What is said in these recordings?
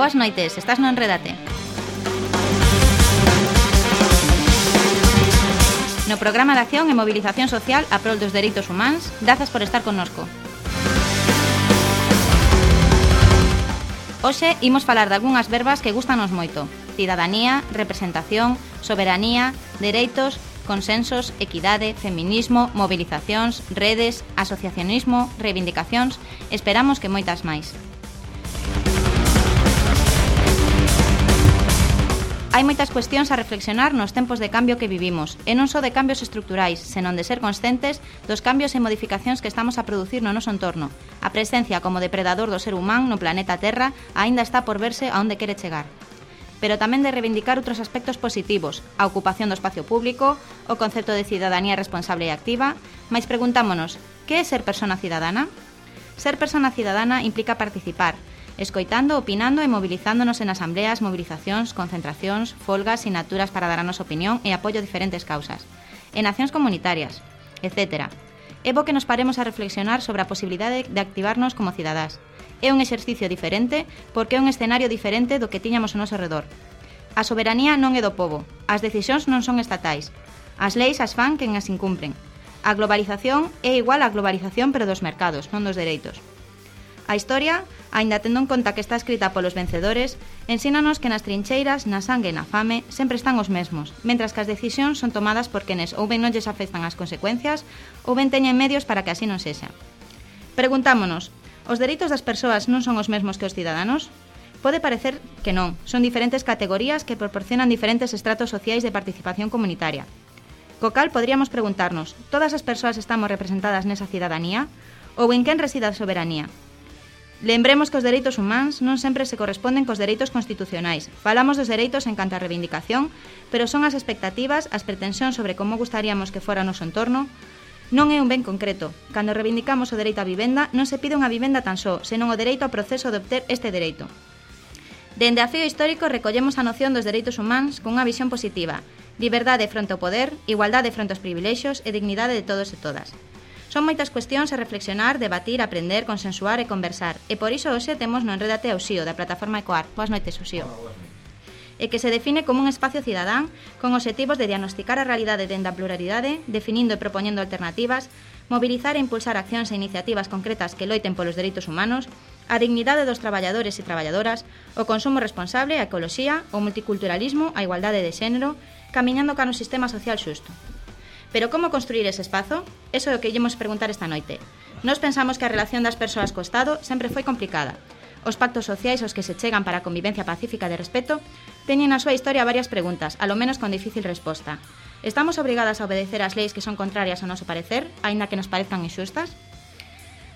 Boas noites, estás no Enrédate. No programa de acción e movilización social a prol dos dereitos humanos, grazas por estar connosco. Hoxe imos falar de algunhas verbas que gustanos moito: cidadanía, representación, soberanía, dereitos, consensos, equidade, feminismo, movilizacións, redes, asociacionismo, reivindicacións. Esperamos que moitas máis. Hai moitas cuestións a reflexionar nos tempos de cambio que vivimos, e non só de cambios estruturais, senón de ser conscientes dos cambios e modificacións que estamos a producir no noso entorno. A presencia como depredador do ser humano no planeta Terra aínda está por verse a onde quere chegar. Pero tamén de reivindicar outros aspectos positivos, a ocupación do espacio público, o concepto de cidadanía responsable e activa, mais preguntámonos, que é ser persona cidadana? Ser persona cidadana implica participar, escoitando, opinando e mobilizándonos en asambleas, movilizacións, concentracións, folgas, sinaturas para dar a nosa opinión e apoio a diferentes causas, en accións comunitarias, etc. É bo que nos paremos a reflexionar sobre a posibilidade de activarnos como cidadás. É un exercicio diferente porque é un escenario diferente do que tiñamos ao noso redor. A soberanía non é do pobo, as decisións non son estatais, as leis as fan quen as incumpren. A globalización é igual á globalización pero dos mercados, non dos dereitos. A historia, aínda tendo en conta que está escrita polos vencedores, ensínanos que nas trincheiras, na sangue e na fame, sempre están os mesmos, mentras que as decisións son tomadas por quenes ou ben non lles afectan as consecuencias ou ben teñen medios para que así non sexa. Preguntámonos, os dereitos das persoas non son os mesmos que os cidaдаnos? Pode parecer que non, son diferentes categorías que proporcionan diferentes estratos sociais de participación comunitaria. Co cal poderíamos preguntarnos, todas as persoas estamos representadas nesa cidadanía? Ou en quen reside a soberanía? Lembremos que os dereitos humanos non sempre se corresponden cos dereitos constitucionais. Falamos dos dereitos en canto a reivindicación, pero son as expectativas, as pretensións sobre como gustaríamos que fora o noso entorno. Non é un ben concreto. Cando reivindicamos o dereito á vivenda, non se pide unha vivenda tan só, senón o dereito ao proceso de obter este dereito. Dende a fío histórico recollemos a noción dos dereitos humanos cunha visión positiva: liberdade fronte ao poder, igualdade fronte aos privilexios e dignidade de todos e todas. Son moitas cuestións a reflexionar, debatir, aprender, consensuar e conversar. E por iso hoxe temos no Enrédate a Uxío, da plataforma Ecoar. Boas noites, Uxío. E que se define como un espacio cidadán con obxectivos de diagnosticar a realidade dende a pluralidade, definindo e propoñendo alternativas, mobilizar e impulsar accións e iniciativas concretas que loiten polos dereitos humanos, a dignidade dos traballadores e traballadoras, o consumo responsable, a ecoloxía, o multiculturalismo, a igualdade de xénero, camiñando cara un sistema social xusto. Pero como construir ese espazo? Eso é o que íamos preguntar esta noite. Nós pensamos que a relación das persoas co Estado sempre foi complicada. Os pactos sociais aos que se chegan para a convivencia pacífica de respeto teñen na súa historia varias preguntas, alo menos con difícil resposta. Estamos obrigadas a obedecer as leis que son contrarias ao noso parecer, aínda que nos parezcan inxustas?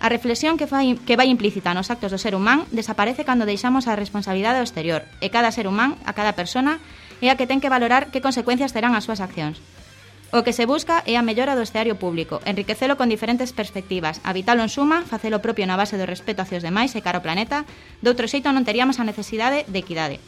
A reflexión que vai implícita nos actos do ser humán desaparece cando deixamos a responsabilidade ao exterior, e cada ser humán, a cada persona, é a que ten que valorar que consecuencias terán as súas accións. O que se busca é a mellora do escenario público, enriquecelo con diferentes perspectivas, habitalo en suma, facelo propio na base do respeto hacia os demais e cara ao planeta, de outro xeito non teríamos a necesidade de equidade.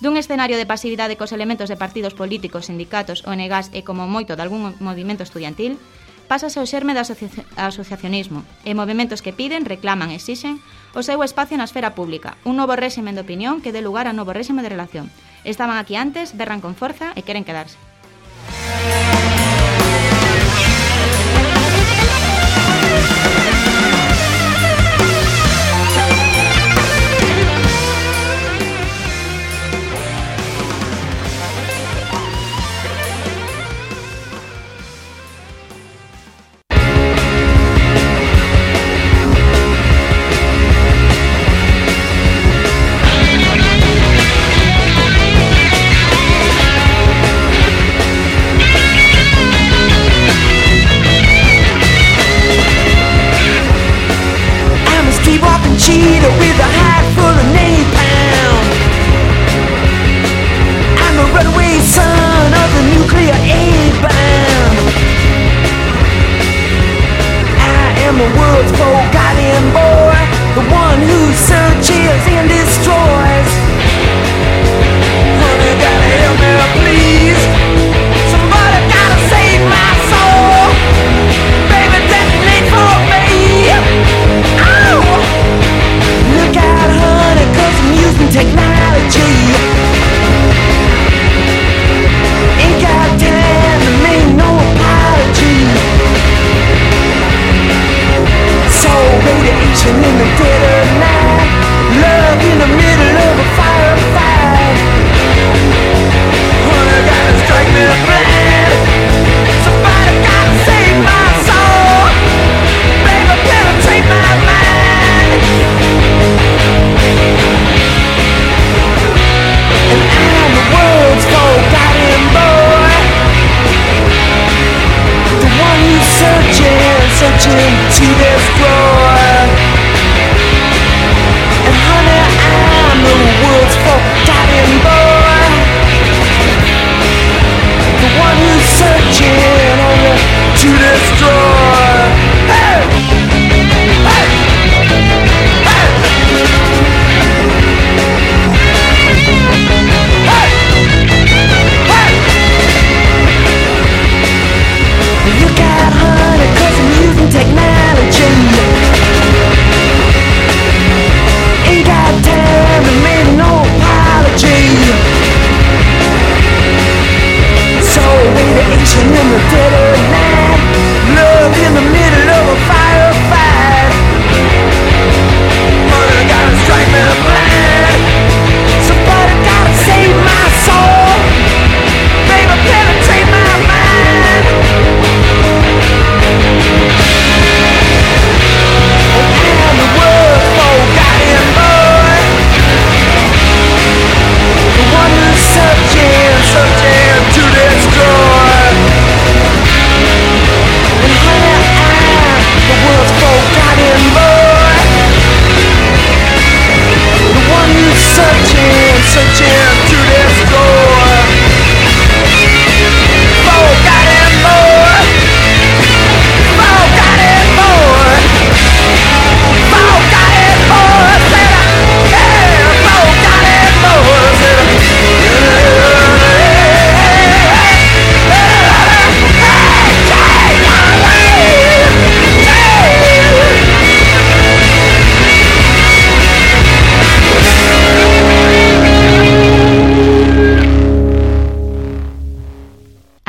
Dun escenario de pasividade cos elementos de partidos políticos, sindicatos, ONGs e como moito de algún movimento estudiantil, pásase ao xerme do asociacionismo e movimentos que piden, reclaman e exixen o seu espacio na esfera pública, un novo réxime de opinión que dé lugar a novo réxime de relación. Estaban aquí antes, berran con forza e queren quedarse.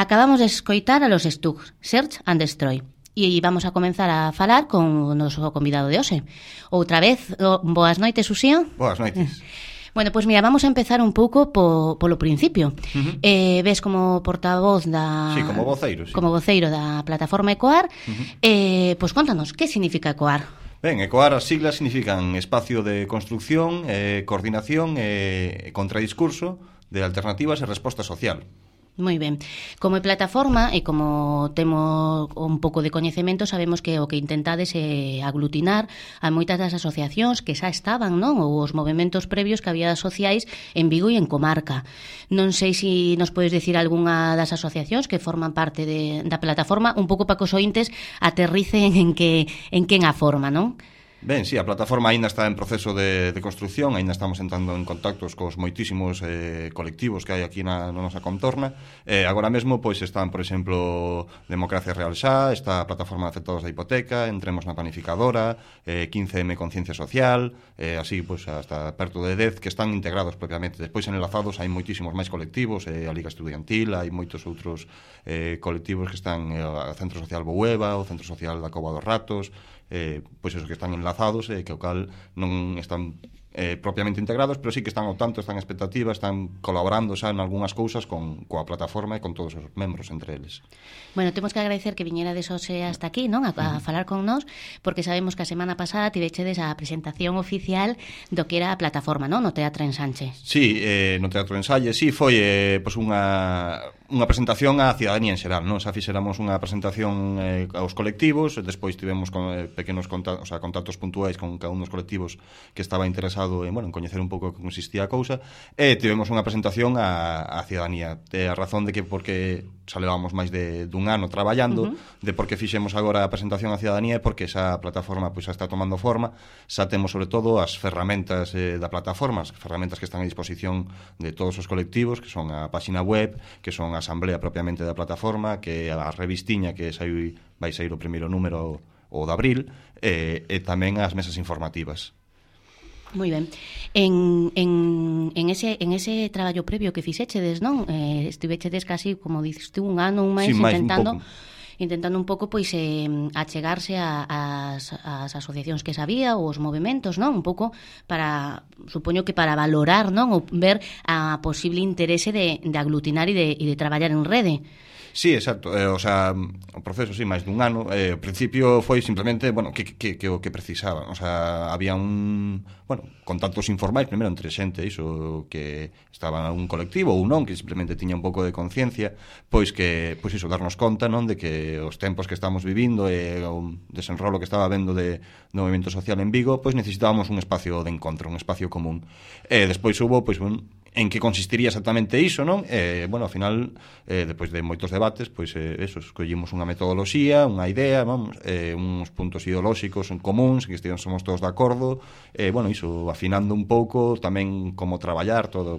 Acabamos de escoitar a los Stugs, Search and Destroy. E vamos a comenzar a falar con o noso convidado de hoxe. Outra vez, boas noites, Uxío. Boas noites. Bueno, pois mira, vamos a empezar un pouco polo principio. Ves como portavoz da... Sí, como voceiro, sí. Como voceiro da plataforma ECOAR. Pois contanos, que significa ECOAR? Ben, ECOAR, as siglas significan Espacio de Construcción, Coordinación e Contradiscurso de Alternativas e Resposta Social. Moi ben. Como plataforma e como temos un pouco de coñecemento, sabemos que o que intentades é aglutinar a moitas das asociacións que xa estaban, non? Ou os movementos previos que había sociais en Vigo e en comarca. Non sei se nos podes dicir algunha das asociacións que forman parte da plataforma, un pouco para que os ointes aterricen en quen a forma, non? Ben, sí, a plataforma aínda está en proceso de construcción, aínda estamos entrando en contactos cos moitísimos colectivos que hai aquí na nosa contorna. Agora mesmo, pois, están, por exemplo, Democracia Real Xa, está a Plataforma de Afectados da Hipoteca, Entremos na Planificadora, 15M Conciencia Social, así, pois, hasta perto de 10, que están integrados propiamente. Despois, enlazados, hai moitísimos máis colectivos, a Liga Estudiantil, hai moitos outros colectivos que están, o Centro Social Boueva, o Centro Social da Cova dos Ratos, pois eso, que están enlazados e que o cal non están propiamente integrados, pero sí que están ao tanto, están expectativas, están colaborando xa en algunhas cousas coa plataforma e con todos os membros entre eles. Bueno, temos que agradecer que viñerades hoxe hasta aquí, non? A falar con nós, porque sabemos que a semana pasada tivechedes a presentación oficial do que era a plataforma, non? No Teatro Ensanche. Sí, no Teatro Ensanche, sí, foi pois unha presentación á cidadanía en xeral, non? Xa fixéramos unha presentación aos colectivos, despois tivemos pequenos contactos puntuais con cada un dos colectivos que estaba interesado en coñecer un pouco que consistía a cousa, e tivemos unha presentación á cidadanía. A razón de que porque xa levamos máis dun ano traballando, de por que fixemos agora a presentación á cidadanía é porque esa plataforma pois xa está tomando forma, xa temos sobre todo as ferramentas da plataforma, as ferramentas que están a disposición de todos os colectivos, que son a páxina web, que son a asamblea propiamente da plataforma, que a revistiña que vai sair o primeiro número o de abril, e tamén as mesas informativas. Moi ben. En ese traballo previo que fixechedes, non? Estivechedes casi, como dices tú, un ano, un máis, intentando un pouco pois achegarse ás asociacións que sabía ou os movementos, non? Un pouco para, supoño que para valorar, non? Ou ver a posible interese de aglutinar e de traballar en rede. Sí, exacto, o proceso, sí, máis dun ano. Ao principio foi simplemente, que o que precisaba. Había contactos informais, primeiro entre xente, iso, que estaba en un colectivo ou non, que simplemente tiña un pouco de conciencia, pois darnos conta, non, de que os tempos que estamos vivindo e o desenrolo que estaba habendo do movimento social en Vigo, pois necesitábamos un espacio de encontro, un espacio común. Despois hubo, en que consistiría exactamente iso, non? Ao final, depois de moitos debates, escollimos unha metodoloxía, unha idea, uns puntos ideolóxicos en comuns, que somos todos de acordo, iso, afinando un pouco tamén como traballar todo,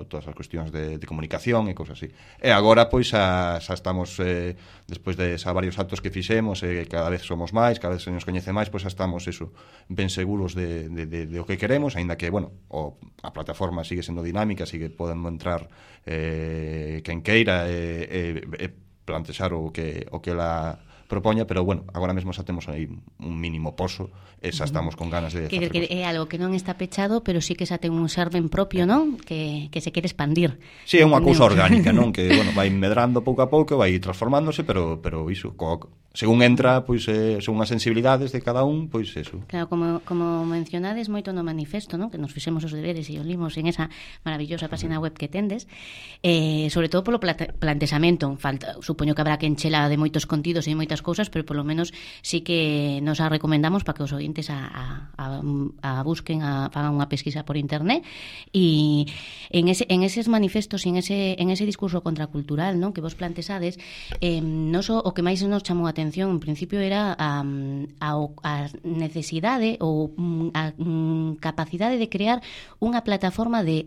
todas as cuestións de comunicación e cousas así. E agora, xa estamos, despois de varios actos que fixemos, cada vez somos máis, cada vez se nos coñece máis, xa estamos, ben seguros de o que queremos, aínda que, a plataforma sigue sendo dinámica, así que poden entrar quen queira e plantexar o que ela propoña, pero agora mesmo xa temos aí un mínimo poso e xa estamos con ganas de facer que é algo que non está pechado, pero sí que xa ten un serven propio, non? Que se quere expandir. Sí, é unha cousa orgánica, non? Que, vai medrando pouco a pouco, vai transformándose, pero iso, según entra, según as sensibilidades de cada un, eso. Claro, como mencionades moito no manifesto, non? Que nos fixemos os deberes e os limos en esa maravillosa página web que tendes, sobre todo polo plantexamento. Supoño que habrá que enchela de moitos contidos e moitas cousas, pero polo menos sí que nos a recomendamos para que os ointes a busquen, fagan unha pesquisa por internet, e en eses manifestos e en ese discurso contracultural, non, que vos plantexades, non só o que máis nos chamou a atención atención en principio era a necesidade ou a capacidade de crear unha plataforma de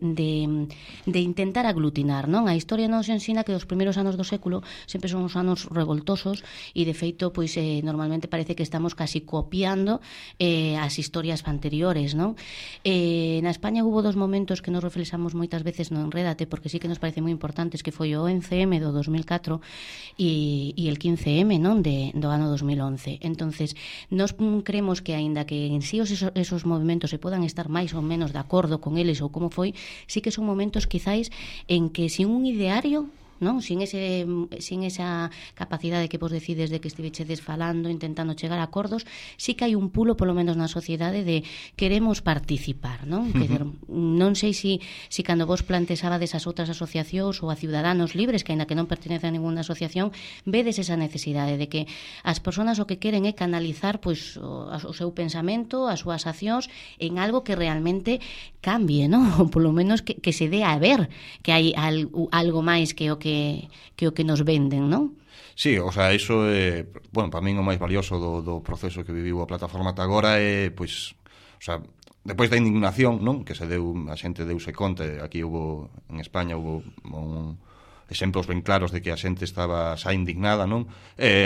intentar aglutinar, non? A historia nos ensina que os primeiros anos do século sempre son os anos revoltosos e de feito pois normalmente parece que estamos casi copiando as historias anteriores, non? Na España hubo dos momentos que nos reflexamos moitas veces no Enrédate, porque sí que nos parece moi importantes, que foi o 11M do 2004 e el 15M, non, do ano 2011. Entonces, nós creemos que aínda que en sí esos movimentos se podan estar máis ou menos de acordo con eles ou como foi, sí que son momentos quizáis en que sin un ideario, non? Sin esa capacidade que vos decides de que estivechedes falando, intentando chegar a acordos, sí que hai un pulo, polo menos na sociedade, de queremos participar, non? Non sei se cando vos plantexabades as outras asociacións ou a Ciudadanos Libres, que aínda que non pertenece a ninguna asociación, vedes esa necesidade de que as persoas o que queren é canalizar pois o seu pensamento, as súas accións en algo que realmente cambie, non? Ou polo menos que se dé a ver que hai algo máis que o que nos venden, non? Sí, o sea, iso é, bueno, para min o máis valioso do proceso que viviu a plataforma ata agora é, pois, o sea, depois da indignación, non? Que se deu, a xente deuse conta, aquí en España hubo exemplos ben claros de que a xente estaba xa indignada, non?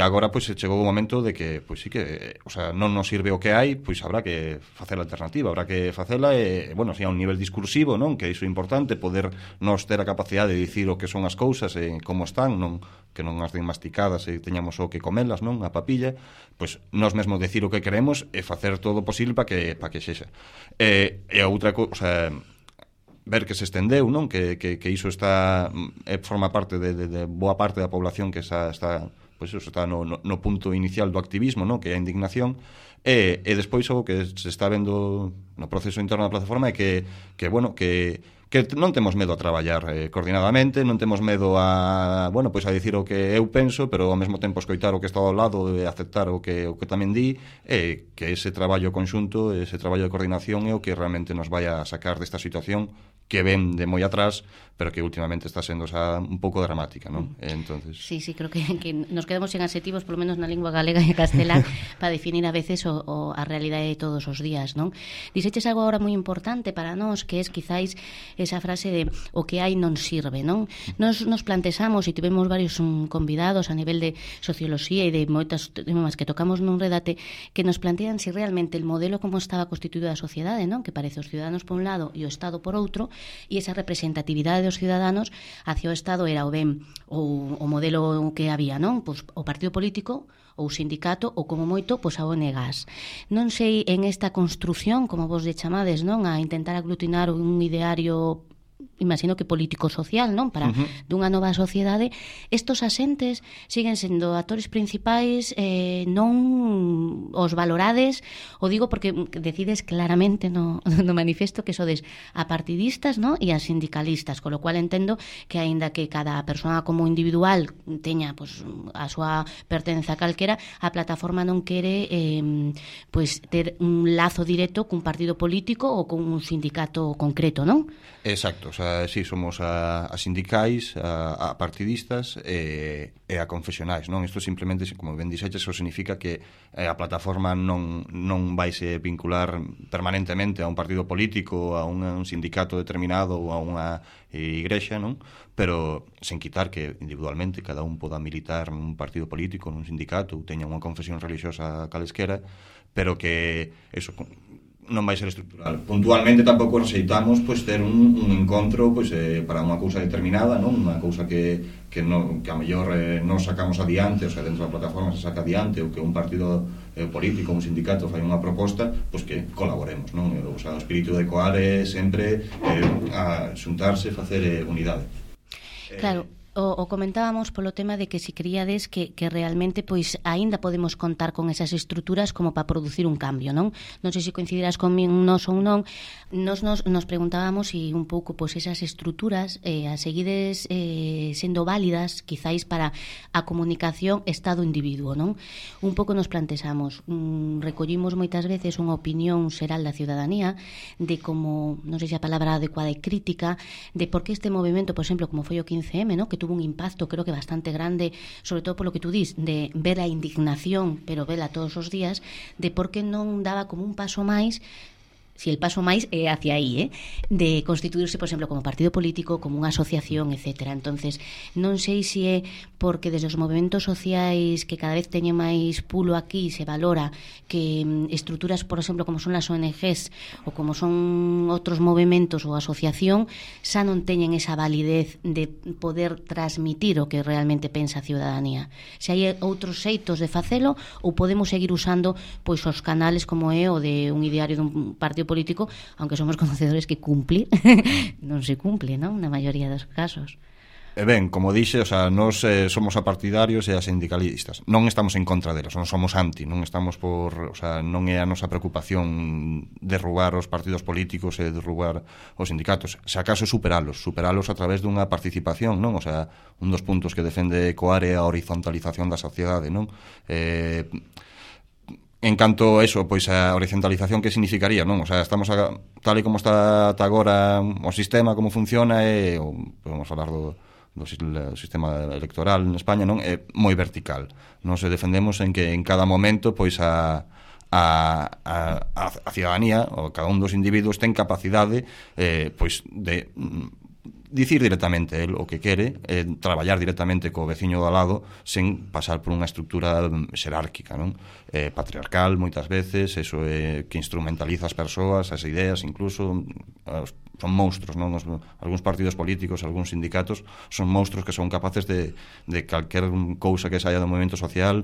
Agora, pois, chegou o momento de que, pois, sí que, o sea, non nos sirve o que hai, pois, habrá que facer a alternativa, habrá que facela, bueno, si a un nivel discursivo, non? Que iso é importante, poder nos ter a capacidade de dicir o que son as cousas e como están, non? Que non as den masticadas e teñamos o que comelas, non? A papilla, pois, nos mesmo decir o que queremos e facer todo o posible para que sexa. E a outra cousa, o sea, ver que se estendeu, non? Que iso está forma parte de boa parte da población que está pois eso, está no punto inicial do activismo, non? Que é a indignación, e despois o que se está vendo no proceso interno da plataforma é que bueno, que non temos medo a traballar coordinadamente, non temos medo a, bueno, pois a dicir o que eu penso, pero ao mesmo tempo escoitar o que está ao lado e aceptar o que tamén di, e que ese traballo conxunto, ese traballo de coordinación é o que realmente nos vai a sacar desta situación que ven de moi atrás, pero que últimamente está sendo xa un pouco dramática, non? Entonces... Sí, creo que nos quedamos sen adxetivos, polo menos na lingua galega e castelán, para definir a veces a realidade de todos os días, non? Dixeches algo agora moi importante para nós, que é quizáis esa frase de o que hai non sirve, non? Nos plantexamos, e tivemos varios convidados a nivel de socioloxía e de moitas temas que tocamos nun Enrédate, que nos plantean se realmente el modelo como estaba constituído a sociedade, non? Que parece os ciudadanos por un lado e o Estado por outro, e esa representatividade dos ciudadanos hacia o Estado era o ben o modelo que había, non? Pois o partido político ou sindicato ou como moito pois a ONGs. Non sei en esta construción, como vos lle chamades, non? A intentar aglutinar un ideario, imagino que político-social, non? Para dunha nova sociedade, estos asentes siguen sendo actores principais, non os valorades, o digo porque decides claramente no manifesto que sodes apartidistas, non? E as sindicalistas, con lo cual entendo que aínda que cada persoa como individual teña pois a súa pertenza calquera, a plataforma non quere pois ter un lazo directo cun partido político ou con un sindicato concreto, non? Exacto, o sea, sí, somos a sindicais, a partidistas e a confesionais, non? Isto simplemente, como ben dixeches, eso significa que a plataforma non vaise vincular permanentemente a un partido político, a un sindicato determinado ou a unha igrexa, non? Pero sen quitar que individualmente cada un poda militar nun partido político, nun sindicato, ou teña unha confesión religiosa calesquera, pero que eso non vai ser estructural. Puntualmente tampouco receitamos pois ter un encontro pois para unha cousa determinada, non? Unha cousa que a mellor non sacamos adiante, o sea, dentro da plataforma se saca adiante, ou que un partido político, un sindicato fai unha proposta, pois que colaboremos, non? O sea, o espírito de coar é sempre a xuntarse, facer unidade. Claro. O comentábamos polo tema de que si queríades que realmente pois aínda podemos contar con esas estruturas como para producir un cambio, non? Non sei se coincidirás conmigo nos ou non. Nos preguntábamos se un pouco pois esas estruturas a seguides sendo válidas quizáis para a comunicación Estado-individuo, non? Un pouco nos plantexamos, recollimos moitas veces unha opinión xeral da ciudadanía de como, non sei se a palabra adecuada é crítica, de por que este movimento, por exemplo, como foi o 15M, non? Que tuvo un impacto creo que bastante grande, sobre todo polo que tú dis, de ver a indignación, pero vela todos os días, de por que non daba como un paso máis, si el paso máis é hacia aí, de constituirse, por exemplo, como partido político, como unha asociación, etc. Entonces, non sei se é porque desde os movimentos sociais que cada vez teñen máis pulo aquí se valora que estruturas, por exemplo, como son as ONGs ou como son outros movimentos ou asociación, xa non teñen esa validez de poder transmitir o que realmente pensa a ciudadanía. Se hai outros xeitos de facelo ou podemos seguir usando pois os canales como é o de un ideario dun partido político, aunque somos conocedores que cumplir non se cumple, non? Na maioría dos casos. Ben, como dixe, o sea, nós somos apartidarios e as sindicalistas. Non estamos en contra delos, non somos anti, non estamos por, o sea, non é a nosa preocupación derrubar os partidos políticos e derrubar os sindicatos. Se acaso superalos a través dunha participación, non? O sea, un dos puntos que defende Coare é a horizontalización da sociedade, non? En canto a eso, pois a horizontalización que significaría, non? O sea, estamos tal e como está agora o sistema, como funciona, podemos falar do sistema electoral en España, non? É moi vertical. Nos defendemos en que en cada momento pois a ciudadanía, ou cada un dos individuos ten capacidade pois de dicir directamente el o que quere, traballar directamente co veciño do lado sen pasar por unha estrutura xerárquica, non? Patriarcal moitas veces, eso que instrumentaliza as persoas, as ideas, incluso son monstruos, non? Algúns partidos políticos, algúns sindicatos son monstruos que son capaces de calquer cousa que saia do movimento social,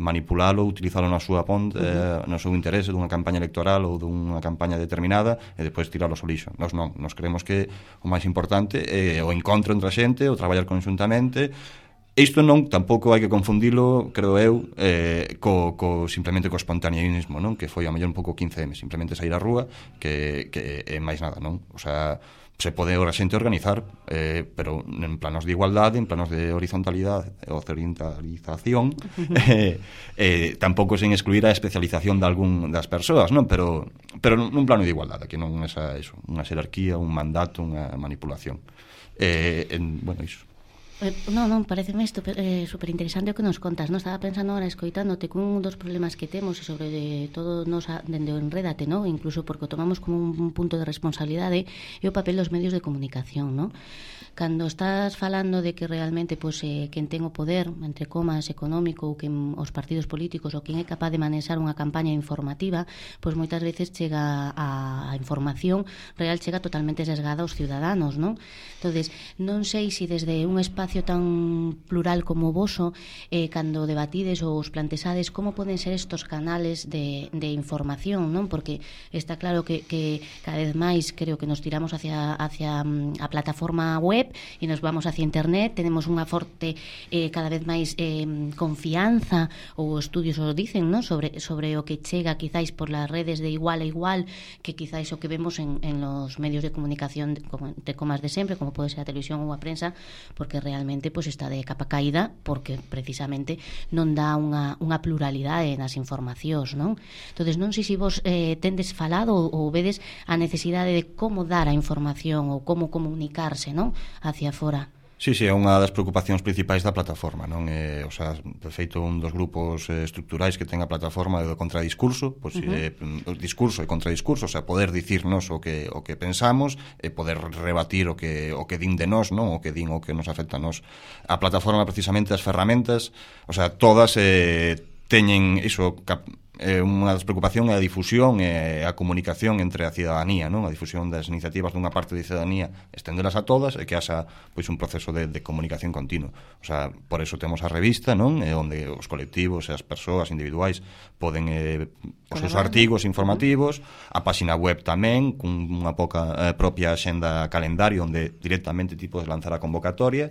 manipulalo, utilizalo na súa no seu interese dunha campaña electoral ou dunha campaña determinada e depois tiralo ao lixo. Nós non, nos creemos que o máis importante é o encontro entre a xente, o traballar conxuntamente. Isto non, tampouco hai que confundilo, creo eu, simplemente co espontaneísmo, non? Que foi a mellor un pouco 15M, simplemente sair á rúa, que é máis nada, non? O sea, se pode a xente organizar, pero en planos de igualdade, en planos de horizontalización, tampouco sen excluir a especialización de algún das persoas, non? Pero nun plano de igualdade, que non é unha xerarquía, un mandato, unha manipulación. Bueno, iso. Non, pareceme isto superinteresante o que nos contas, non? Estaba pensando ahora, escoitándote, que un dos problemas que temos e sobre todo nos dende o Enrédate, non? Incluso porque o tomamos como un punto de responsabilidade é o papel dos medios de comunicación, non? Cando estás falando de que realmente quen ten o poder, entre comas, económico, ou que os partidos políticos, ou quen é capaz de manexar unha campaña informativa, pois moitas veces chega a información real, chega totalmente sesgada aos ciudadanos, non? Entonces, non sei se desde un espacio tan plural como o voso, cando debatides ou os plantexades, como poden ser estos canales de información, non? Porque está claro que cada vez máis creo que nos tiramos hacia a plataforma web e nos vamos hacia internet, tenemos unha forte cada vez máis confianza, ou estudios o dicen, non? Sobre o que chega quizáis por las redes de igual a igual que quizáis o que vemos en los medios de comunicación de comas de sempre, como pode ser a televisión ou a prensa, porque realmente está de capa caída, porque precisamente non dá unha pluralidade nas informacións, non? Entonces, non sei se vos tendes falado ou vedes a necesidade de como dar a información ou como comunicarse, non? Hacia fora. Sí, é unha das preocupacións principais da plataforma, non? O sea, de feito, un dos grupos estruturais que ten a plataforma é o contradiscurso, pois discurso e contradiscurso, o sea, poder dicirnos o que pensamos e poder rebatir o que din de nós, non? O que din o que nos afecta a nós. A plataforma, precisamente, as ferramentas, o sea, todas teñen iso, unha das preocupacións é a difusión e a comunicación entre a ciudadanía, non? A difusión das iniciativas dunha parte da ciudadanía, estendelas a todas e que haxa pois un proceso de comunicación continuo. O sea, por eso temos a revista, non? Onde os colectivos e as persoas individuais poden os seus artigos informativos, a páxina web tamén, cunha propia axenda calendario onde directamente ti podes lanzar a convocatoria,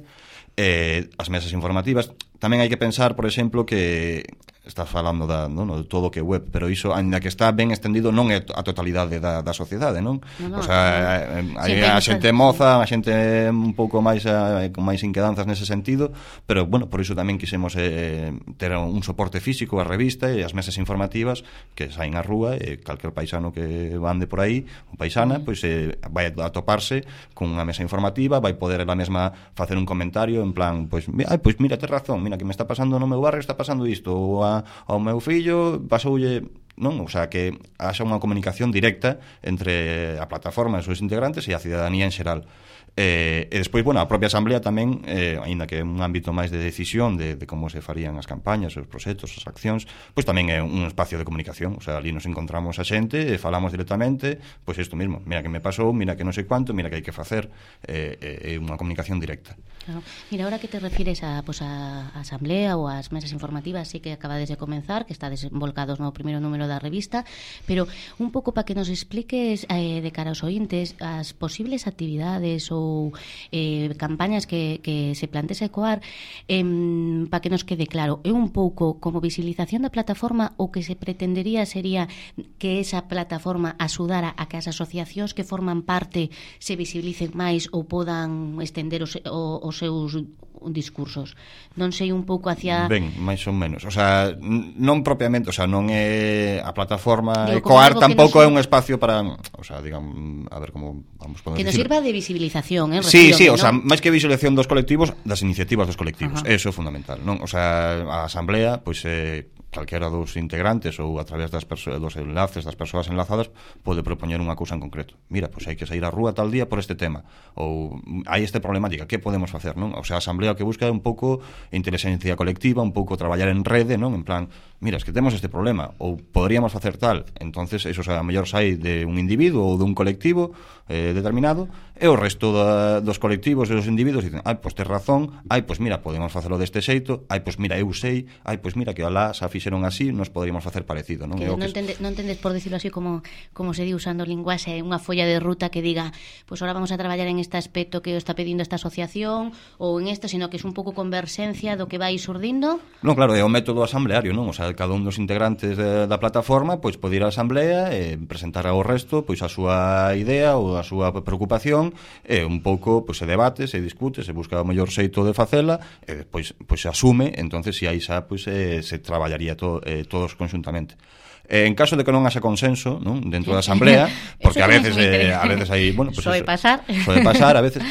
as mesas informativas. Tamén hai que pensar, por exemplo, que estás falando de todo o que é web, pero iso, ainda que está ben extendido, non é a totalidade da sociedade, non? O sea, hai a xente moza, a xente un pouco máis con máis inquedanzas nese sentido, pero, bueno, por iso tamén quisemos ter un soporte físico, a revista e as mesas informativas que saen á rúa, e calquer paisano que ande por aí, ou paisana, pois vai a toparse con unha mesa informativa, vai poder ela mesma facer un comentario en plan, pois mira, tes razón, mira que me está pasando no meu barrio, está pasando isto, ou ao meu fillo pasoulle, non? O sea, que haxa unha comunicación directa entre a plataforma e os seus integrantes e a cidadanía en xeral. E despois, bueno, a propia asamblea tamén, aínda que é un ámbito máis de decisión de como se farían as campañas, os proxectos, as accións, pois tamén é un espacio de comunicación. O sea, ali nos encontramos a xente e falamos directamente, pois isto mesmo, mira que me pasou, mira que non sei cuánto, mira que hai que facer, é unha comunicación directa. Claro. Mira, ahora que te refires a asamblea ou ás mesas informativas, sí que acabades de comenzar, que estades volcados no primeiro número da revista, pero un pouco para que nos expliques de cara aos ointes as posibles actividades ou campañas que se plantease Ecoar, para que nos quede claro, é un pouco como visibilización da plataforma, o que se pretendería sería que esa plataforma axudara a que as asociacións que forman parte se visibilicen máis ou podan estender os seus discursos. Non sei un pouco hacia... Ben, máis ou menos. O sea, non propiamente, o sea, non é a plataforma Ecoar, tampouco é un espacio para, o sea, digamos, a ver como vamos poder que nos sirva de visibilización, Sí, o sea, máis que visibilización dos colectivos, das iniciativas dos colectivos. Eso é fundamental, non? O sea, a asamblea, pois calquera dos integrantes ou a través dos enlaces das persoas enlazadas pode propoñer unha cousa en concreto. Mira, pois hai que sair á rúa tal día por este tema, ou hai esta problemática, que podemos facer, non? O sea, a asamblea o que busca é un pouco inteligencia colectiva, un pouco traballar en rede, non? En plan, mira, es que temos este problema, ou poderíamos facer tal. Entonces, eso, o sea, a mellor sai de un individuo ou dun colectivo determinado, e o resto dos colectivos e dos individuos dicen, pois tes razón, pois mira, podemos facelo deste xeito, pois mira, eu sei, pois mira, que alá xa fixeron así, nos poderíamos facer parecido, non? Que non entendes, por decirlo así, como se di usando linguaxe, unha folla de ruta que diga, pois ahora vamos a traballar en este aspecto que o está pedindo esta asociación, ou en isto, sino que é un pouco converxencia do que vai surdindo. Non, claro, é o método asambleario, non? O sea, cada un dos integrantes da plataforma pois pode ir á asamblea e presentar ao resto pois a súa idea ou a súa preocupación, e un pouco pois se debate, se discute, se busca o mellor xeito de facela, e despois pois se asume, entonces se aí xa pois se traballaría todos conxuntamente. En caso de que non haxa consenso, non, dentro da asamblea, porque a veces hai, bueno, pues soe pasar a veces.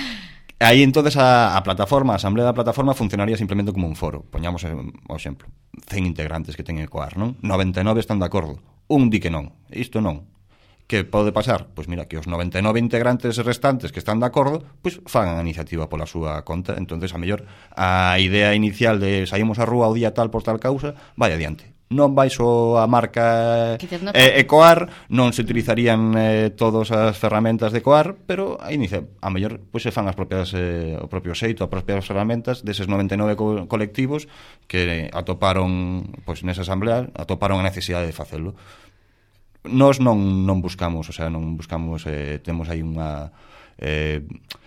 Aí entonces a plataforma, a asamblea da plataforma funcionaría simplemente como un foro. Poñamos o exemplo, 100 integrantes que ten Ecoar, non? 99 están de acordo, un di que non, isto non. Que pode pasar? Pois mira, que os 99 integrantes restantes que están de acordo, pois fagan a iniciativa pola súa conta. Entonces, a mellor, a idea inicial de saímos á rúa o día tal por tal causa, vai adiante. Non vai só a marca Ecoar, non se utilizarían todas as ferramentas de Ecoar, pero a mellor pois se fan as propias o propio xeito, as propias ferramentas deses 99 colectivos que atoparon pois nesa asamblea, atoparon a necesidade de facelo. Nós non buscamos, o sea, non buscamos, temos aí unha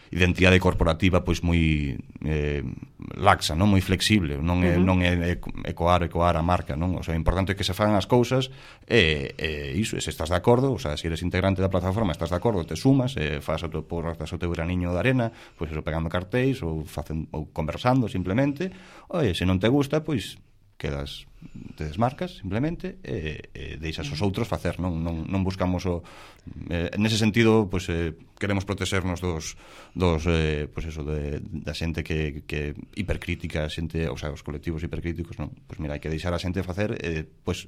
identidade corporativa pois moi laxa, non moi flexible, non é Ecoar a marca, non? O sea, o importante é que se fagan as cousas e iso, se estás de acordo, o sea, se eres integrante da plataforma, estás de acordo, te sumas, faz o teu graniño de arena, pois eso, pegando cartéis ou conversando simplemente. Oye, se non te gusta, pois te desmarcas simplemente e deixas os outros facer, non buscamos nese sentido, pois queremos protexernos dos pois eso, da xente que hipercrítica, xente, o sea, os colectivos hipercríticos, non? Pois mira, hai que deixar a xente facer, pois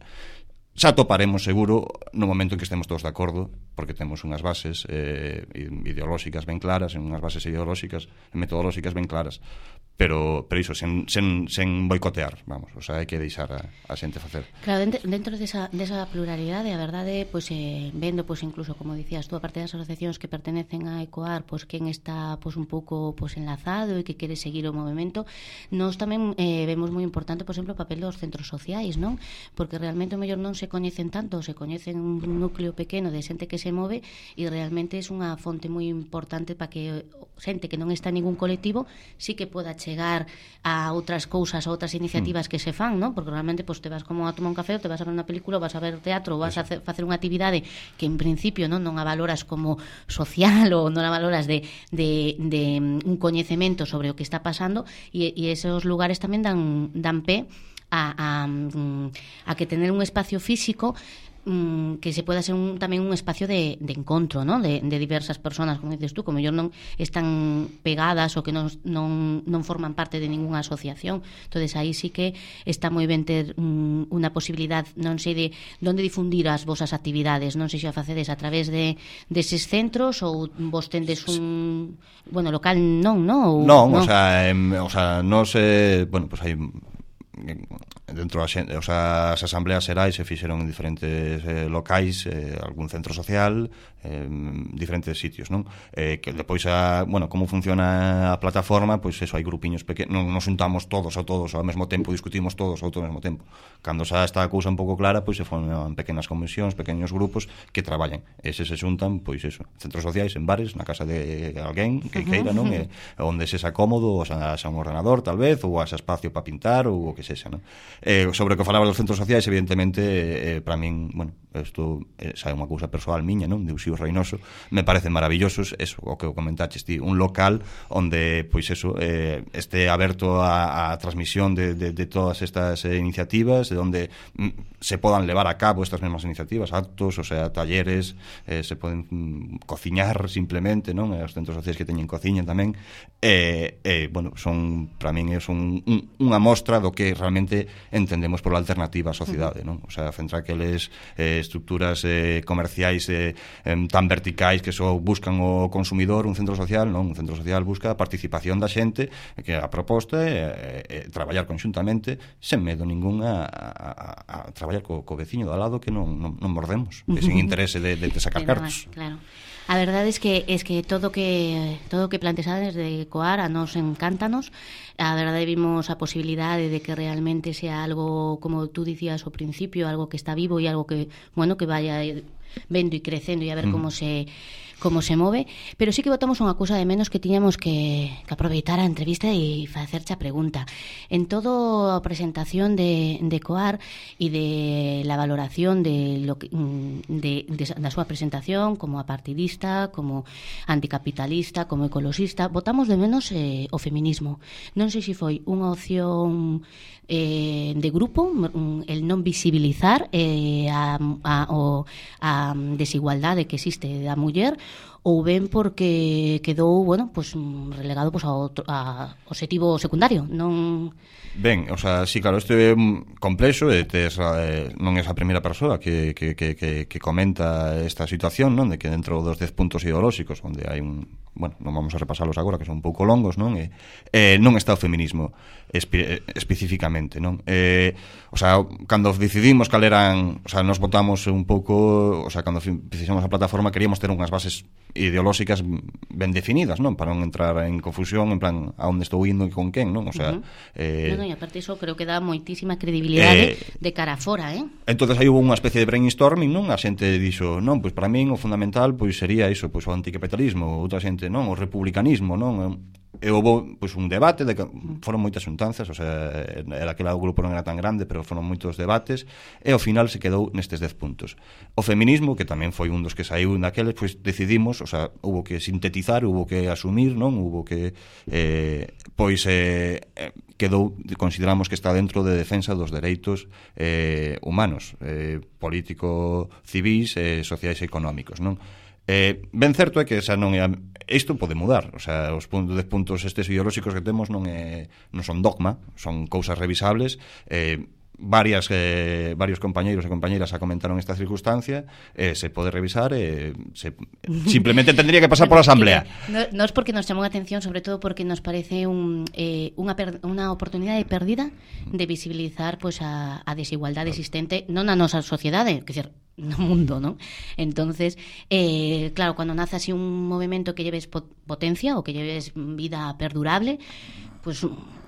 xa toparemos seguro no momento en que estemos todos de acordo, porque temos unhas bases ideolóxicas ben claras, unhas bases ideolóxicas e metodolóxicas ben claras, pero iso, sen boicotear, vamos, o sea, hai que deixar a xente facer. Claro, dentro desa pluralidade, a verdade, pois vendo, pois incluso, como dicías tú, a parte das asociacións que pertenecen a Ecoar, pois quen está pois un pouco pois enlazado e que quere seguir o movimento, nós tamén vemos moi importante, por exemplo, o papel dos centros sociais, non? Porque realmente o mellor non se se coñecen tanto, se coñecen un núcleo pequeno de xente que se move e realmente é unha fonte moi importante para que xente que non está en ningún colectivo sí que poda chegar a outras cousas, a outras iniciativas que se fan, non? Porque realmente pues, te vas como a tomar un café, ou te vas a ver unha película, ou vas a ver teatro, ou vas a facer unha actividade que en principio non a valoras como social ou non a valoras de un coñecemento sobre o que está pasando e esos lugares tamén dan pé a que tener un espacio físico que se pueda ser tamén un espacio de encontro, ¿no? de diversas personas, como dices tú, como ellos non están pegadas ou que non forman parte de ninguna asociación. Entonces aí sí que está moi ben ter unha posibilidad, non sei de onde difundir as vosas actividades, non sei se a facedes a través deses centros ou vos tendes un local non, non? Non, o sea, non se, bueno, pues hai dentro as asambleas xerais se fixeron en diferentes locais, algún centro social, diferentes sitios, non? Que depois como funciona a plataforma, pois eso, hai grupiños pequenos, non nos juntamos todos ao mesmo tempo, discutimos todos ao mesmo tempo. Cando xa está a cousa un pouco clara, pois se forman pequenas comisións, pequenos grupos que traballan. Eses se xuntan, pois eso, centros sociais, en bares, na casa de alguén que queira, non? Onde se xa cómodo, ou xa un ordenador, tal vez, ou xa espacio para pintar, ou o que sexa, non? Sobre o que falaba dos centros sociais, evidentemente, para min, bueno, isto xa é unha cousa persoal miña, non? De Uxío Reinoso, me parecen maravillosos, eso, o que comentaches ti, un local onde, pois eso, este aberto a transmisión de todas estas iniciativas, de onde se podan levar a cabo estas mesmas iniciativas, actos, o sea, talleres, se poden cociñar simplemente, non? Os centros sociais que teñen cociña tamén, bueno, son, para min, é unha mostra do que realmente entendemos por alternativa á sociedade, non? O sea, centrar aqueles estructuras comerciais tan verticais que só buscan o consumidor, un centro social, non? Un centro social busca a participación da xente, que a proposta é traballar conxuntamente sen medo ningún a traballar co veciño do lado que non mordemos, sin interese de sacar cartos. Claro. A verdade é que todo que plantexades de Coar a nos encántanos. A verdade vimos a posibilidade de que realmente sea algo, como tú dicías ao principio, algo que está vivo e algo que, bueno, que vaya vendo e crecendo e a ver como se move, pero sí que botamos unha cousa de menos que tiñamos que aproveitar a entrevista e facerche a pregunta. En todo a presentación de Coar e de la valoración da súa presentación como apartidista, como anticapitalista, como ecoloxista, botamos de menos o feminismo. Non sei se foi unha opción de grupo, el non visibilizar a desigualdade que existe da muller, ou ben porque quedou, bueno, pues relegado pues ao obxectivo secundario, non? Ben, o sea, sí, claro, isto é complexo, non é a primeira persoa que comenta esta situación, non? De que dentro dos 10 puntos ideolóxicos, onde hai bueno, non vamos a repasalos agora, que son un pouco longos, non? Non está o feminismo especificamente, non? O sea, cando decidimos cal eran, o sea, nos votamos un pouco, o sea, cando fixemos a plataforma queríamos ter unhas bases ideolóxicas ben definidas, non? Para non entrar en confusión, en plan, a onde estou indo e con quen, non? O sea, e aparte iso creo que dá moitísima credibilidade de cara a fora, Entonces aí hubo unha especie de brainstorming, non? A xente dixo, non, pois para min o fundamental pois sería iso, pois o anticapitalismo, outra xente, non, o republicanismo, non? E houve pois un debate de que foron moitas xuntanzas, o sea, aquele grupo non era tan grande, pero foron moitos debates e ao final se quedou nestes 10 puntos. O feminismo, que tamén foi un dos que saiu naqueles, pois decidimos, o sea, hubo que sintetizar, hubo que asumir, non? Hubo que quedou, consideramos que está dentro de defensa dos dereitos humanos, político, civis, sociais e económicos, non? Ben certo é que xa non é isto pode mudar, o sea, os 10 puntos estes ideolóxicos que temos non son dogma, son cousas revisables. Varios compañeiros e compañeiras a comentaron esta circunstancia, se pode revisar, simplemente tendría que pasar por a asamblea. Non é porque nos chamou a atención, sobre todo porque nos parece unha oportunidade perdida de visibilizar pues, a desigualdade existente non na nosa sociedade, que dizer, no mundo, ¿no? Entonces, claro, cuando nace así un movimento que lleves potencia o que lleves vida perdurable, pues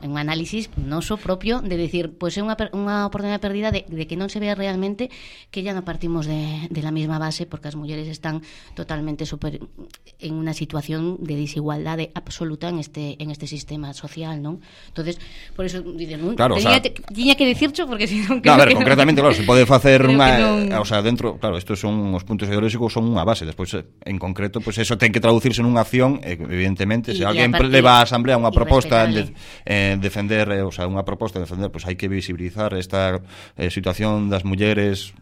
un análisis noso propio de decir, pois é unha oportunidade perdida de que non se vea realmente que ya non partimos de la misma base, porque as mulleres están totalmente en unha situación de desigualdade absoluta en este sistema social, non? Entonces, por eso dices, non, claro, tiña que dicircho porque si non a ver, concretamente, claro, se pode facer unha, o sea, dentro, claro, estos son os puntos ideolóxicos, son unha base, despois en concreto, pois eso ten que traducirse nunha acción, evidentemente, se alguén leva á asamblea unha proposta defender, o sea, unha proposta de defender, pois hai que visibilizar esta situación das mulleres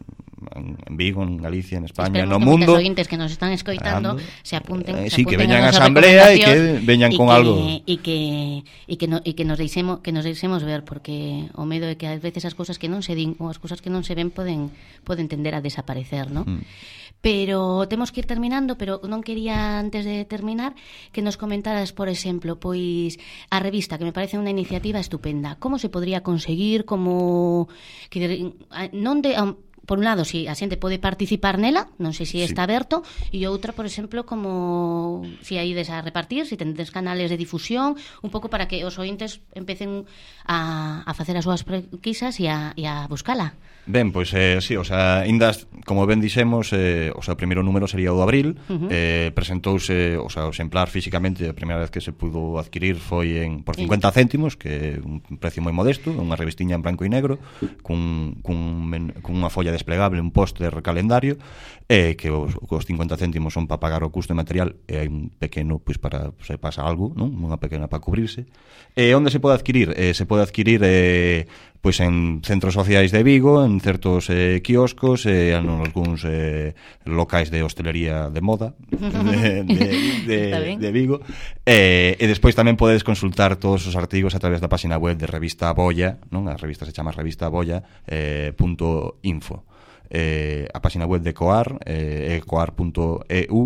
en Vigo, en Galicia, en España, no mundo. Os ointes que nos están escoitando se apunten, sí, que veñan á asamblea e que veñan con algo e que nos deixemos ver, porque o medo é que ás veces as cousas que non se din ou as cousas que non se ven poden tender a desaparecer, ¿no? Pero temos que ir terminando, pero non quería antes de terminar que nos comentaras, por exemplo, pois a revista, que me parece unha iniciativa estupenda. Como se podría conseguir, como que non de por un lado, si a xente pode participar nela, non sei se está aberto, e outra, por exemplo, como si aí des a repartir, si tendes canales de difusión, un pouco para que os ointes empecen a facer as súas pesquisas e a buscala. Ben, pois sí, o sea, indas, como ben dixemos, o sea, o primeiro número sería o de abril, presentouse, o sea, o exemplar físicamente, a primeira vez que se pudo adquirir foi por 50 céntimos, que é un precio moi modesto, unha revistiña en branco e negro, cunha folla desplegable, un póster calendario, que os 50 céntimos son para pagar o custo de material, e hai un pequeno, pois, para se pasa algo, non? Unha pequena para cubrirse. Onde se pode adquirir? Se pode adquirir pois en centros sociais de Vigo, en certos quioscos, en algúns locais de hostelería de moda de Vigo, e despois tamén podes consultar todos os artigos a través da página web de Revista Abolla, non? A revista se chama Revista Abolla .info. A página web de Coar, coar.eu,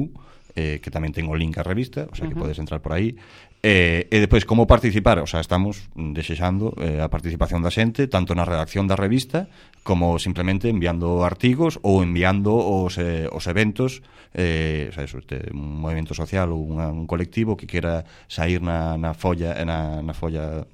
que tamén ten o link á revista, o sea que podes entrar por aí. E depois, como participar? O sea, estamos desexando a participación da xente, tanto na redacción da revista como simplemente enviando artigos ou enviando os eventos, o sea, eso, un movimento social ou un colectivo que quera sair na folla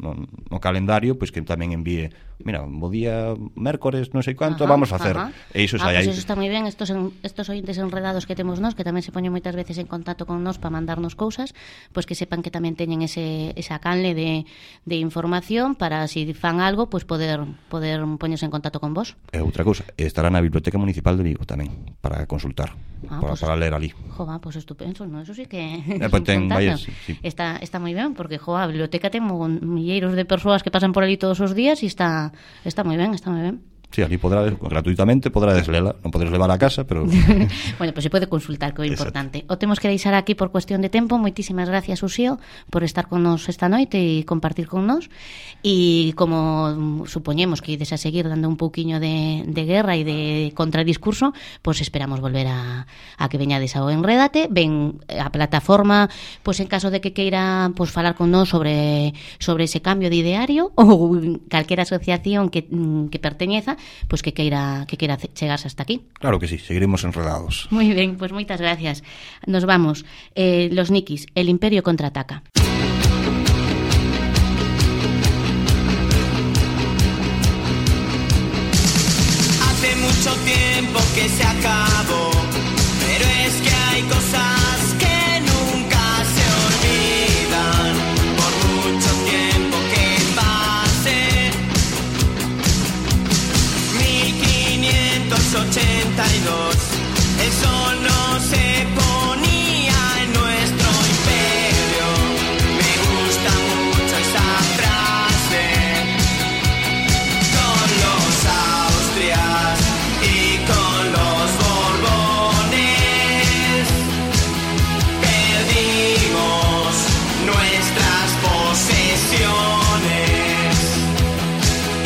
no calendario, pois que tamén envíe, mira, bo día mércores, non sei quanto, vamos a facer. E iso sai aí. Pois eso está moi ben, estos ointes enredados que temos nós, que tamén se poñen moitas veces en contacto con nós para mandarnos cousas, pois que sepan que tamén teñen esa canle de información para, si fan algo, pois poder poñerse en contacto con vos. E outra cousa, estará na Biblioteca Municipal de Vigo tamén, para consultar, para ler ali. Jova, pois estupendo, no? Eso sí que sí. Está moi ben, porque a biblioteca ten milleiros de persoas que pasan por ali todos os días e está moi ben, está moi ben. Sí, ali gratuitamente podrás lela, non podes levar a casa, pero bueno, pues se pode consultar, que é importante. O temos que deixar aquí por cuestión de tempo. Moitísimas gracias, Uxío, por estar con nos esta noite e compartir con nos. E como supoñemos que ides a seguir dando un pouquiño de guerra e de contradiscurso, pois esperamos volver a que veñades ao Enrédate. Ven a plataforma, pois en caso de que queira pois falar con nos sobre ese cambio de ideario ou calquera asociación que perteñeza, pois que queira chegarse hasta aquí. Claro que sí, seguiremos enredados. Moi ben, pois moitas gracias. Nos vamos. Los Nikis, el Imperio contraataca. Hace mucho tiempo que se acabó, pero es que hay cosas que nunca se olvidan, por mucho tiempo que pase. 1582, el sol no se ponía en nuestro imperio. Me gusta mucho esa frase. Con los Austrias y con los Borbones perdimos nuestras posesiones.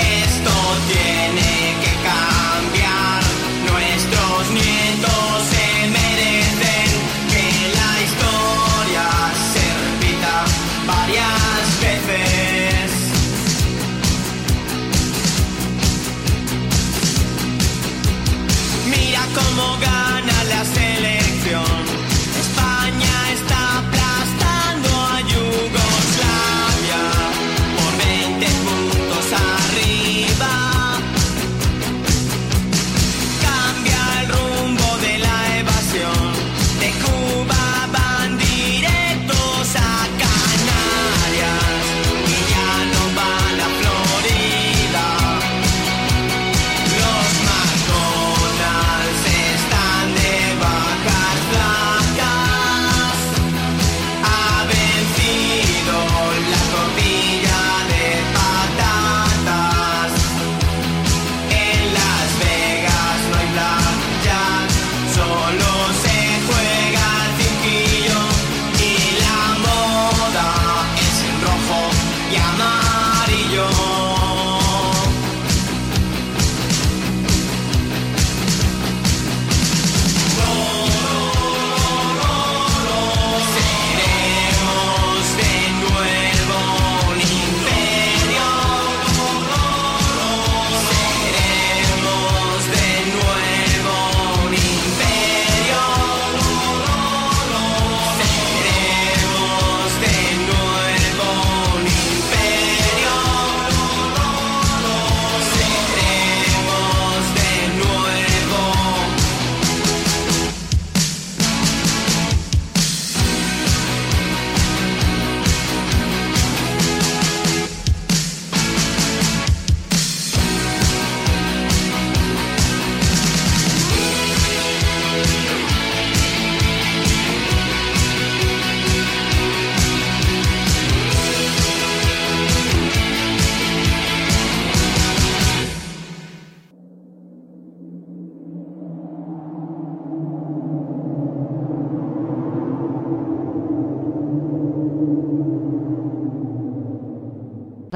Esto tiene que cambiar. Nuestros nietos se merecen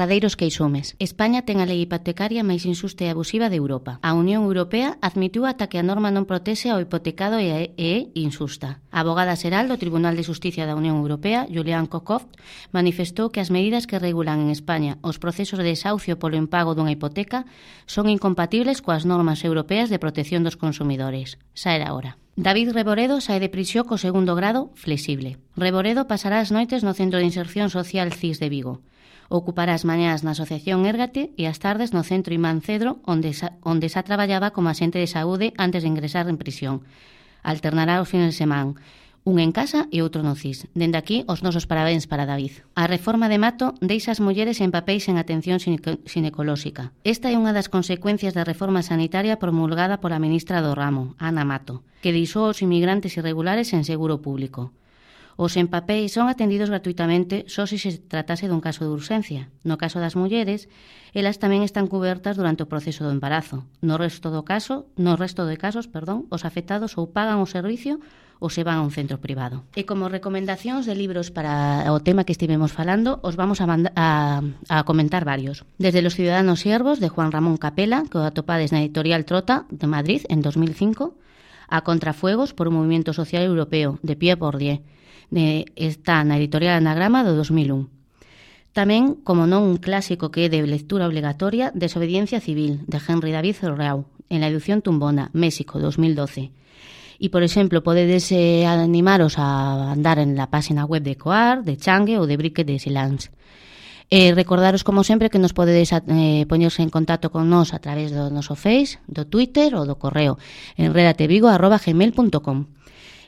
verdadeiros queixumes. España ten a lei hipotecaria máis injusta e abusiva de Europa. A Unión Europea admitiu ata que a norma non protexe ao hipotecado e é injusta. A abogada xeral do Tribunal de Xusticia da Unión Europea, Julian Kokov, manifestou que as medidas que regulan en España os procesos de desahucio polo impago dunha hipoteca son incompatibles coas normas europeas de protección dos consumidores. Xa era hora. David Reboredo sae de prisión co segundo grado flexible. Reboredo pasará as noites no Centro de Inserción Social CIS de Vigo. Ocupará as mañás na Asociación Érgate e as tardes no Centro Imán Cedro, onde xa traballaba como axente de saúde antes de ingresar en prisión. Alternará os fines de semana, un en casa e outro no CIS. Dende aquí, os nosos parabéns para David. A reforma de Mato deixa as mulleres en papéis en atención ginecolóxica. Esta é unha das consecuencias da reforma sanitaria promulgada pola ministra do ramo, Ana Mato, que deixou os inmigrantes irregulares en seguro público. Os en papéis son atendidos gratuitamente só se tratase dun caso de urxencia. No caso das mulleres, elas tamén están cubertas durante o proceso do embarazo. No resto de casos, os afectados ou pagan o servicio ou se van a un centro privado. E como recomendacións de libros para o tema que estivemos falando, os vamos a comentar varios. Desde Los ciudadanos siervos, de Juan Ramón Capela, que o atopades na editorial Trota, de Madrid, en 2005, a Contrafuegos, por un movimiento social europeo, de Pierre Bourdieu, está na editorial Anagrama do 2001. Tamén, como non un clásico que é de lectura obligatoria, Desobediencia civil, de Henry David Thoreau, en la edición Tumbona, México, 2012. E, por exemplo, podedes animaros a andar en la página web de Coar, de Changue ou de Brique de Silence. Recordaros, como sempre, que nos podedes poñerse en contacto con nós a través do noso Face, do Twitter ou do correo enredatevigo@gmail.com.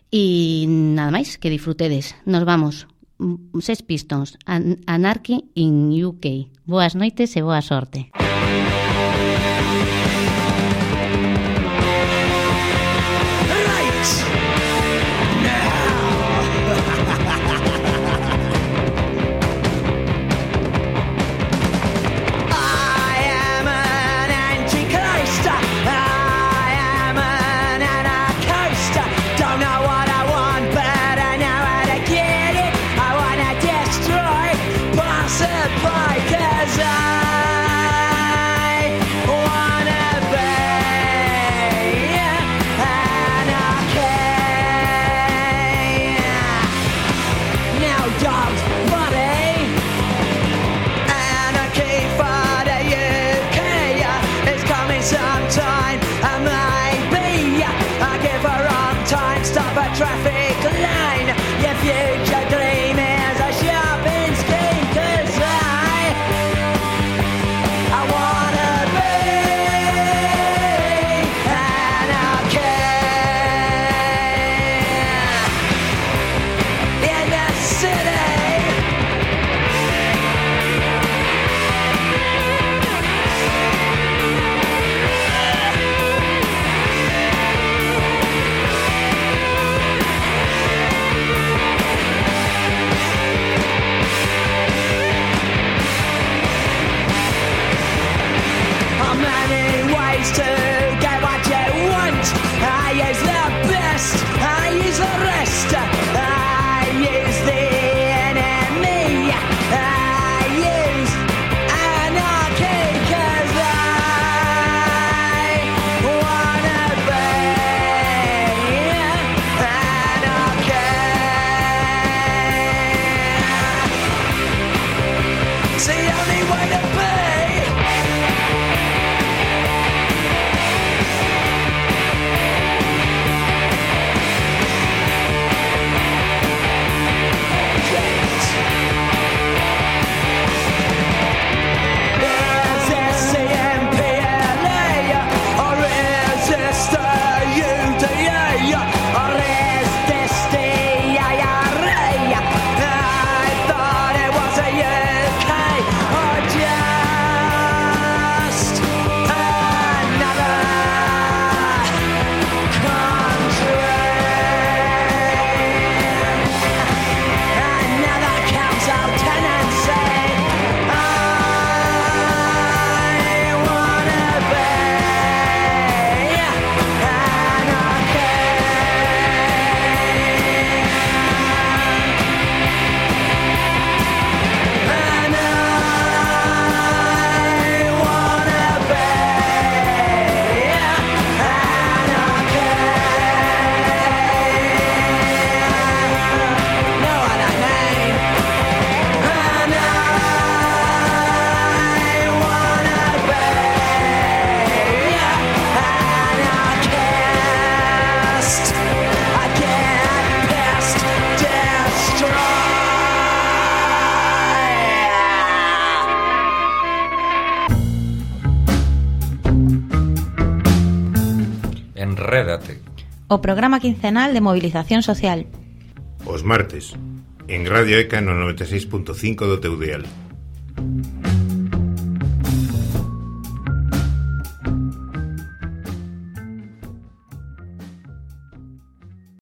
E nada máis, que disfrutedes. Nos vamos. Sex Pistols, Anarchy in UK. Boas noites e boa sorte. Cause I Enrédate. O programa quincenal de movilización social. Os martes, en Radio ECA no 96.5 do teu dial.